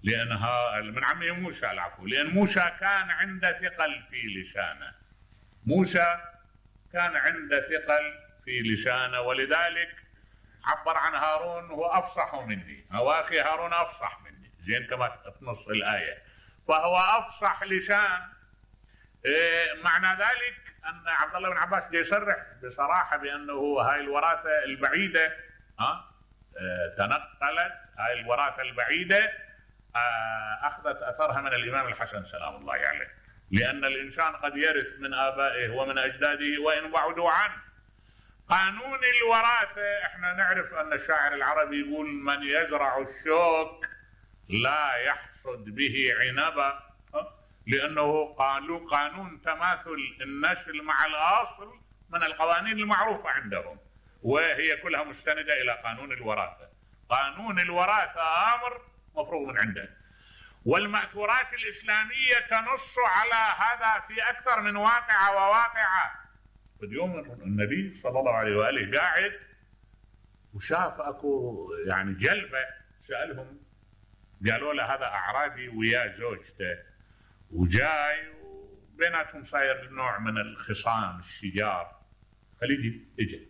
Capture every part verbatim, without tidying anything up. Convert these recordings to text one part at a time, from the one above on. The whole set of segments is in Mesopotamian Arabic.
لأنها من عمه موسى العفو، لأن موسى كان عنده ثقل في لسانه، موسى كان عنده ثقل في لسانه، ولذلك عبر عن هارون هو أفصح مني، أواخي هارون أفصح مني، زين كما في نص الآية، فهو أفصح لسان. إيه معنى ذلك أن عبد الله بن عباس يصرح بصراحة بأنه هاي الوراثة البعيدة ها اه تنقلت، هاي الوراثة البعيدة اه أخذت أثرها من الإمام الحسن سلام الله عليه، يعني لأن الإنسان قد يرث من آبائه ومن أجداده وإن بعدوا عنه. قانون الوراثة احنا نعرف أن الشاعر العربي يقول: من يزرع الشوك لا يحصد به عنبا، لأنه قالوا قانون تماثل النسل مع الأصل من القوانين المعروفة عندهم، وهي كلها مستندة إلى قانون الوراثة. قانون الوراثة أمر مفروغ من عنده، والمأثورات الإسلامية تنص على هذا في أكثر من واقعة وواقعة. اليوم النبي صلى الله عليه وآله قاعد وشاف أكو يعني جلبة، سألهم قالوا له هذا أعرابي ويا زوجته وجاي وبيناتهم صاير نوع من الخصام الشجار، خليجي اجى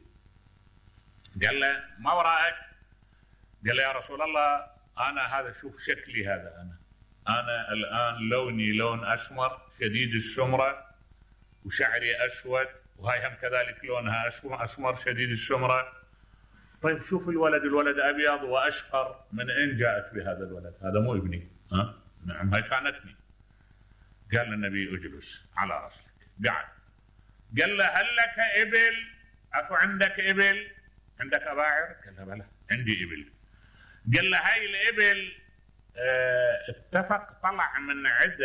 قال له: ما وراءك؟ قال له: يا رسول الله أنا هذا شوف شكلي، هذا أنا أنا الآن لوني لون أسمر شديد السمرة وشعري أسود، وهاي هم كذلك لونها أسمر شديد السمرة. طيب شوف الولد، الولد أبيض وأشقر، من أين جاءت بهذا الولد؟ هذا مو ابني. ها؟ نعم هاي كانتني. قال النبي: اجلس على رأسك. قعد. قال له: هل لك إبل؟ أكو عندك إبل؟ عندك أباعر؟ قال له: بلى عندي إبل. قال له: هاي الإبل اه اتفق طلع من عده